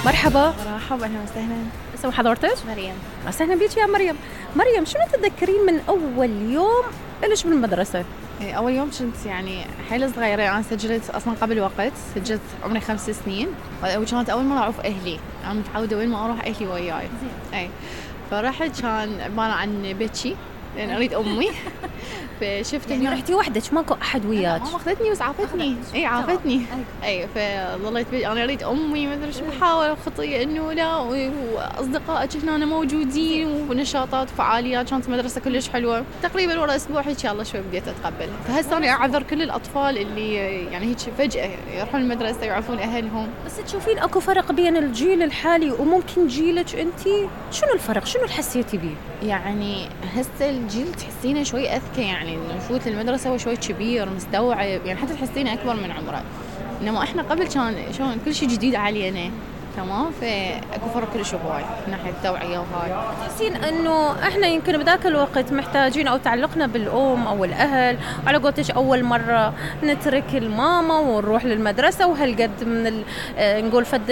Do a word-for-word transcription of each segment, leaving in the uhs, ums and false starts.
مرحبا. مرحبا، اهلا وسهلا. اسم حضرتك؟ مريم. اهلا بيك يا مريم. مريم، شنو تتذكرين من اول يوم لش بالمدرسه؟ اول يوم كنت يعني حيل صغيره، انا سجلت اصلا قبل وقت، سجلت عمري خمس سنين وكانت اول مره اعرف اهلي، انا متعوده وين ما اروح اهلي وياي. اي فرحت كان عباره عن بيتشي لان اريد امي. فشفت يعني رحتي وحدك ماكو احد وياك؟ ماما اخذتني بس عافتني. اي عافتني. اي فظليت انا اريد امي ما ادري شو، بحاول خطيه انه لا، واصدقائك هنا موجودين ونشاطات وفعاليات، كانت المدرسه كلش حلوه. تقريبا ورا اسبوع هيك يلا شوي بديت اتقبل. فهسه انا اعذر كل الاطفال اللي يعني هيك فجاه يروحون المدرسه يعرفون اهلهم. بس تشوفين اكو فرق بين الجيل الحالي وممكن جيلك انت؟ شنو الفرق؟ شنو اللي حسيتي بيه؟ يعني هسه الجيل تحسينه شوي اذكى، يعني نفوت المدرسه وشوي كبير مستوعب، يعني حتى تحسينه اكبر من عمره. انما احنا قبل كان شلون كل شيء جديد علينا، تمام؟ فاكو فرق كلش هواي من ناحيه التوعيه وهاي. تحسين انه احنا يمكن بذاك الوقت محتاجين او تعلقنا بالام او الاهل، وعلى قولتش اول مره نترك الماما ونروح للمدرسه وهالقد من ال... نقول فد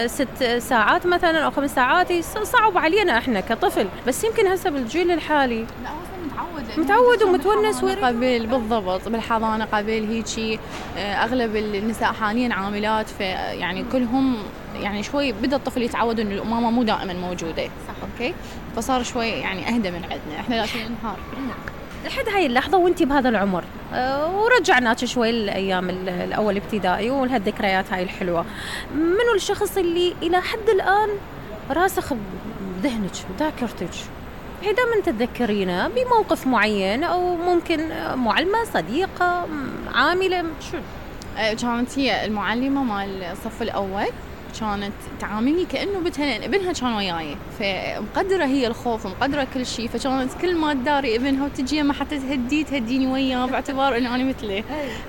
ست ساعات مثلا او خمس ساعات صعب علينا احنا كطفل. بس يمكن هسه بالجيل الحالي لا متعود متعود ومتونس قبل. بالضبط، بالحضانه قبل هيجي اغلب النساء حاليا عاملات، فيعني كلهم يعني شوي بدا الطفل يتعود انه الامامه مو دائما موجوده. صح. اوكي، فصار شوي يعني اهدى من عندنا احنا لازم ننهار لحد هاي اللحظه وانتي بهذا العمر. أه ورجعناك شوي الايام الاول ابتدائي وهالذكريات هاي الحلوه. منو الشخص اللي الى حد الان راسخ بذهنك بذاكرتك؟ هي دائما تتذكرينه بموقف معين، او ممكن معلمه، صديقه، عامله، شو؟ كانت هي المعلمه مال الصف الاول، كانت تعاملني كأنه بنتها، لأن ابنها كان وياي، فمقدرة هي الخوف ومقدرة كل شيء، فكانت كل ما تداري ابنها وتجي ما حتى تهدي تهديني وياه باعتبار إنه أنا مثله.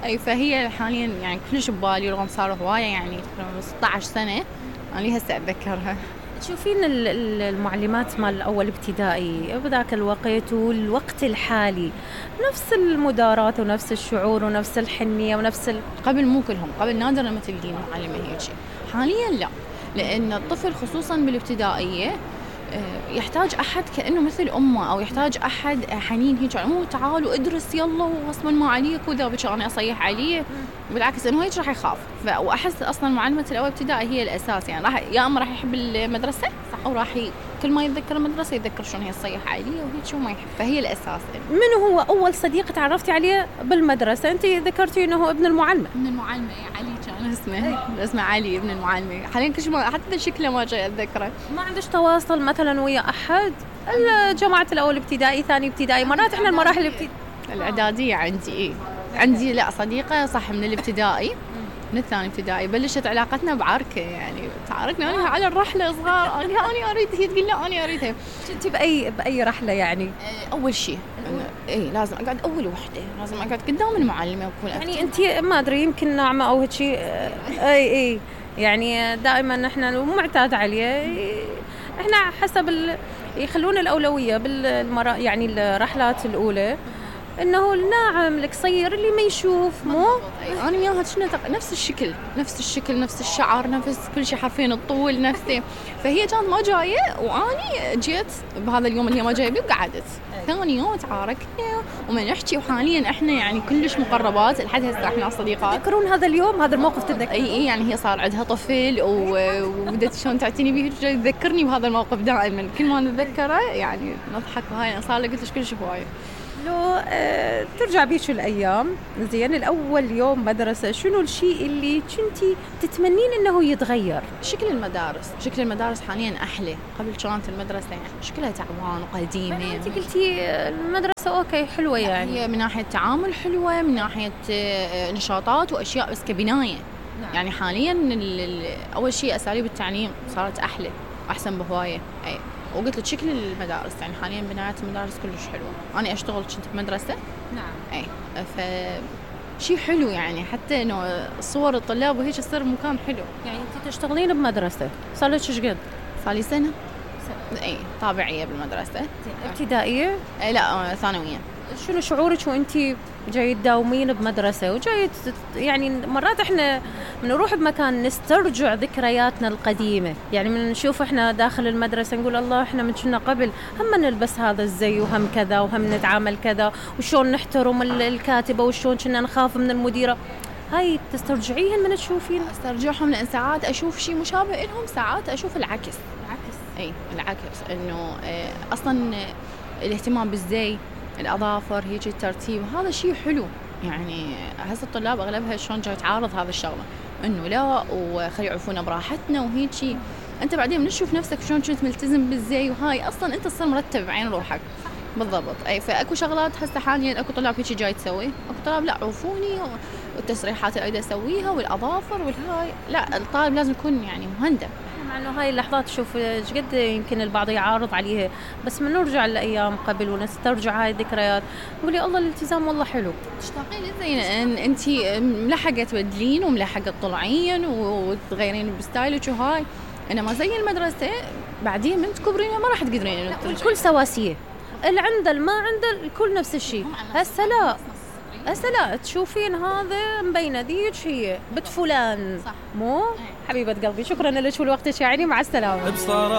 أي فهي حاليا يعني كلش ببالي، رغم صار هواية يعني ستة عشر سنة أنا هسه أتذكرها. تشوفين المعلمات مال الأول ابتدائي بذاك الوقت والوقت الحالي نفس المدارات ونفس الشعور ونفس الحنية ونفس ال... قبل مو كلهم، قبل نادر لما تلقين معلمة هيك، حاليا لا، لأن الطفل خصوصا بالابتدائية يحتاج أحد كأنه مثل أمه، أو يحتاج أحد حنين هيك، مو تعالوا ادرس يلا وغصبا ما عليك وذا بك أنا أصيح عليه. بالعكس إنه هيك راح يخاف. وأحس أصلا معلمة الأول ابتدائي هي الأساس، يعني راح يا أما راح يحب المدرسة أو راح ي... كل ما يتذكر المدرسة يتذكر شلون هي تصيح عليه وهيك شو ما يحب، فهي الأساس. من هو أول صديق تعرفتي عليه بالمدرسة؟ أنت ذكرتي إنه هو ابن المعلمة. ابن المعلمة علي كان اسمه. اسمه علي ابن المعلمة. حاليا كل شيء حتى شكله ما جاي أتذكره. ما عندش تواصل مثلا ويا أحد؟ الجماعة الأول ابتدائي، ثاني ابتدائي، مرات إحنا المراحل الابتدائية الإعدادية عندي إيه عندي لا صديقة صح من الابتدائي، من الثاني ابتدائي بلشت علاقتنا بعركة، يعني تعاركنا أنا على الرحلة صغار، أنا أنا أريد هي تقول لا أنا أريدها. كنت بأي بأي رحلة يعني؟ أول شيء إيه لازم أقعد أول وحدة، لازم أقعد قدام المعلمة وأكون يعني أنت ما أدري يمكن ناعمة أو هيك شيء. أي أي يعني دائما إحنا معتاد عليه، إحنا حسب ال... يخلون الأولوية بالمرا يعني الرحلات الأولى انه الناعم القصير اللي ما يشوف مو انا وياها شنو نفس الشكل نفس الشكل نفس الشعر نفس كل شيء حرفيا الطول نفسه. فهي كانت ما جايه واني جيت بهذا اليوم اللي هي ما جايه بيه وقعدت. ثاني يوم تعاركنا وما نحكي، وحاليا احنا يعني كلش مقربات لحد هسه احنا صديقات. تذكرون هذا اليوم هذا الموقف؟ تتذكر؟ اي اي يعني هي صار عندها طفل وبدت شلون تعتني به، تذكرني بهذا الموقف دائما كل ما نتذكره يعني نضحك. وهاي صار لي قلت لك كلش هوايه. لو أه ترجع بيش الأيام زين الأول يوم مدرسة، شنو الشيء اللي كنتي تتمنين إنه يتغير؟ شكل المدارس، شكل المدارس حاليا أحلى. قبل كانت المدرسة يعني شكلها تعبان وقديمة. أنت قلتي المدرسة أوكي حلوة، يعني هي من ناحية تعامل حلوة، من ناحية نشاطات وأشياء، بس كبناية. نعم. يعني حاليا أول شيء أساليب التعليم صارت أحلى أحسن بهواية. أي وقلت لك شكل المدارس يعني حاليا بنايات المدارس كلش حلوه. انا اشتغل كنت بمدرسه. نعم. اي ف شيء حلو يعني، حتى انه صور الطلاب وهيك تصير مكان حلو. يعني انت تشتغلين بمدرسه صار لك ايش قد؟ صار لي سنه. سنة. اي طابعيه بالمدرسه. ابتدائيه؟ اي لا ثانويه. شنو شعورك وانت جاي تداومين بمدرسة وجاي تت- يعني مرات احنا بنروح بمكان نسترجع ذكرياتنا القديمة، يعني من نشوف احنا داخل المدرسة نقول الله احنا من كنا قبل هم نلبس هذا الزي وهم كذا وهم نتعامل كذا وشون نحترم ال- الكاتبة وشون كنا نخاف من المديرة. هاي تسترجعيهن من تشوفين؟ استرجعهم لان ساعات اشوف شيء مشابه لهم، ساعات اشوف العكس. العكس اي العكس انه آه، اصلا آه، الاهتمام بالزي، الاظافر، هيك الترتيب، هذا شيء حلو. يعني هسه الطلاب اغلبها شلون جاي تعارض هذا الشغله، انه لا وخلي يعرفونا براحتنا وهيك شيء. انت بعدين من تشوف نفسك شلون كنت ملتزم بالزي وهاي اصلا انت تصير مرتب بعين روحك. بالضبط. اي فاكو شغلات هسه حاليا اكو طلاب هيك جاي تسوي، اكو طلاب لا عرفوني والتسريحات اللي اريد اسويها والاظافر والهاي، لا الطالب لازم يكون يعني مهندم. مع انه هاي اللحظات شوف ايش قد يمكن البعض يعارض عليها، بس من نرجع لايام قبل ونسترجع هاي الذكريات نقول يا الله الالتزام والله حلو. تشتاقين زين ان انت ملحقه تبدلين وملحقه تطلعين وتغيرين بستايلك وهاي، انما زي المدرسه بعدين من تكبرين ما راح تقدرين انك ترجعين. الكل سواسية، اللي عنده اللي ما عنده الكل نفس الشيء. هسه لا، هسه لا تشوفين هذا مبينه ذيك هي بنت فلان. صح. مو حبيبة قلبي، شكرا لك ولوقتك يعني، مع السلامة. بصراحة